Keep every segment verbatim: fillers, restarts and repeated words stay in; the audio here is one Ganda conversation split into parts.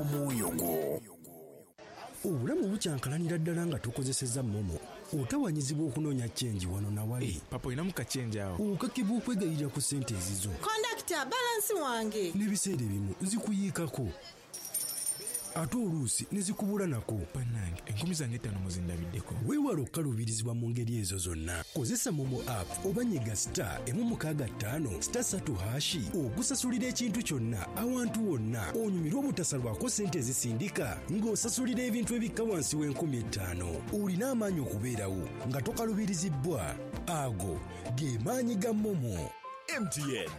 y'omwoyo gwo. Obulamu bukyankalanira ddala nga tukozesezza MoMo. Otawanyizibwa okunoonya change wano nawali. Hey, papa olinamu ka change awo. Okakibwa okwegayirira ku ssente ezizo. Kondakita, balance wange. N'ebiseera ebimu zikuyiikako, ate oluusi ne zikubula nako. Bannange, enkumi zange ttaano muzindabiddeko. Weewala okukaluubirizibwa mu ngeri ezo zonna. Kozesa MoMo app oba nyiga star emu mukaaga ttaano star ssatu hash okusasulira ekintu kyonna awantu wonna, onyumirwe obutasalwako ssente ezisindika ng'osasulira ebintu ebikka wansi w'enkumi ettaano. Olina amaanyi okubeerawo nga tokalubirizibbwa. Ago ge maanyi ga MoMo. M T N.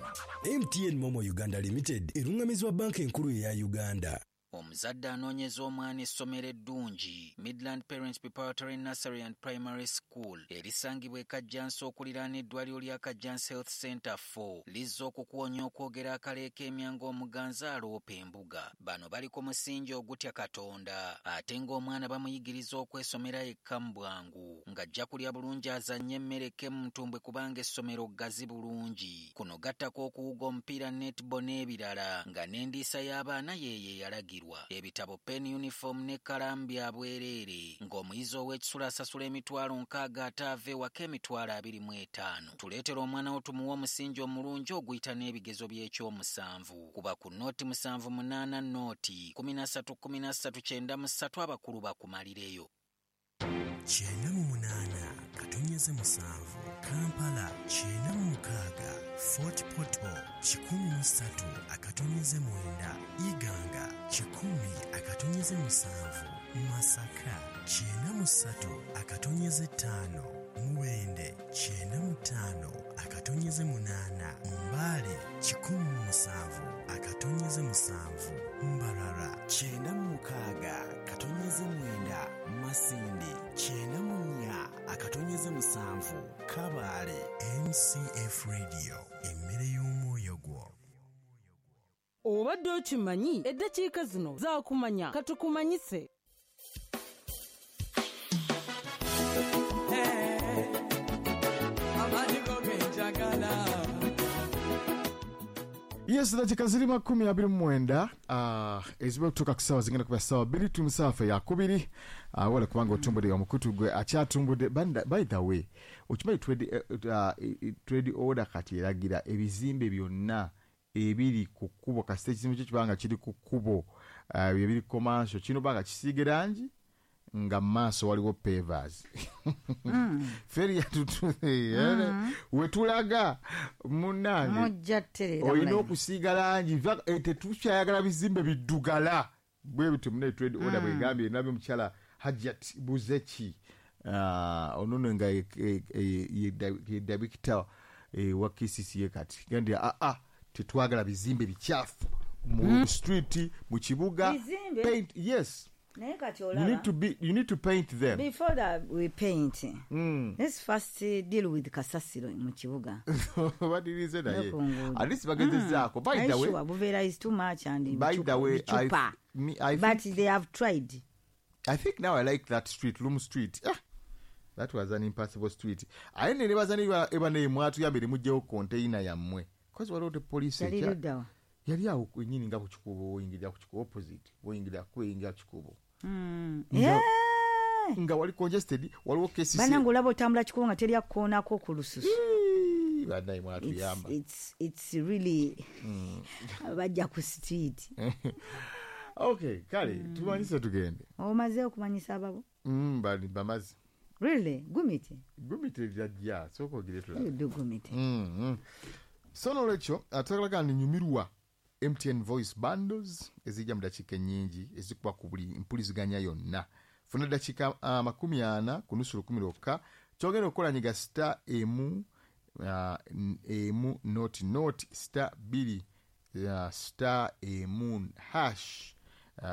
M T N MoMo Uganda Limited erungamizibwa Banka Enkulu eya Uganda. Omuzadde anoonyeza omwana essomero eddungi, Midland Parents Preparatory Nursery and Primary School erisangibwa e Kajjansi okuliraana eddwaliro lya Kajjansi Health Center four, lizza okukuwonya okwogera akaleeka emya ng'omuganzi aloopa embuga. Bano bali ku musingi ogutya Katonda, ate ng'omwana bamuyigiriza okwesomera yekka mu bwangu, ng'ajja kulya bulungi, azannye emmere kemu ntumbwe, kubanga essomero ggazi bulungi. Kuno gattako okuwuga omupiira, netball n'ebirala, nga n'endiisa y'abaana yeeyo eyalagirwa. Ebitabo, pen, uniform n'ekkalaamu bya bwereere, ng'omuyizi ow'ekisula asasula emitwalo nkaaga ate ava ewaka emitwalo abiri mu etaano. Tuleetera omwana wo tumuwe omusingi omulungi oguyita n'ebigezo by'ekyomusanvu. Kuba ku nought musanvu munaana nought kumi na ssatu kumi na ssatu kyenda mu ssatu, abakulu bakumalireyo. Kyenda mu munaana katonyeze musanvu Kampala, kyenda mu mukaaga Fort Portal, kikumi mu ssatu akatonyeze mwenda Iganga, kikumi akatonyeze musanvu Masaka, kyenda mu ssatu akatonyeze ttaano Mubende, kyenda mu ttaano akatonyeze munaana Mbale, kikumi mu musanvu akatonyeze musanvu Mbarara, kyenda mu mukaaga katonyeze mwenda Masindi, kyenda mu nnya akatonyeze musanvu Kabaale. M C F Radio, emmere y'omwoyo gwo. Obadde okimanyi? Eddakiika zino zaakumanya, katukumanyise. Amaanyi go genjagala. Yes, dakika ziri makumi abiri mu mwenda uh, eziba kutuuka ku ssaawa zigenda kuba ssaawa bbiri tumusaafa yakubiri. uh, wala kubanga otumbudde omukutu gwe akyatumbudde. By the way, okimanyi trade, uh, trade order kati eragira ebizimbe byonna ebiri ku kkubo, kasita ekizimbe kyo kibanga kiri ku kkubo, uh, ebiri commercial, kino banga kisiige langi nga maaso waliwo pavers mm. Feri yatutu mm. wetulaga munnange, olina okusiiga langi. eh, tetukyayagala bizimbe biddugala bwe bityo. Mune trade order mm. bwegambye. Nabyo mukyala Hajat Buzeki uh, onono nga ye director wa K C C A kati gandi a a tetwagala bizimbe bikyafu mu mm. street, mu kibuga. Paint, yes. Naye kati You need to be, you need to paint them. Before that we paint, mm. let's first deal with kasasiro mu kibuga. Badirize naye at least bagezezaako. By the way, sure, buveera is too much and by the way, I, me, I but they have tried. I think now I like that street, Loom Street. Ah, that was an impassable street. Aye ne nebaza eba ne mwatuyambire mugyewo container yammwe, cause waliwo the police. Yali luddawa? Yali awo kwenyini nga ku kikubo, oyingirira ku kikubo opposite, oyingirira kuyingira kikubo mm. nga, nga wali congested, waliwo K C C. Banange, olaba otambula kikubo nga teri akukoonako ku lususu. Bannaye, mwatuyamba. it's, it's really mm. bajja ku street. Okay, kale mm. tumanyise tugende. Omaze okumanyisa ababo? mm, bali bamaze. Really? Gumite. Gumite jajja, sooka ogire tulabe. Gumite. mm -hmm. So nolwekyo atagalaga ninyumirwa M T N Voice Bundles ezijja mu dakiika ennyingi ezikuba ku buli mpuliziganya yonna. Funa dakiika uh, makumi ana ku nusu lukumi lwokka. Kyogenda okukola, nyiga star emu uh, emu nought nought star bbiri uh, star emu hash. uh,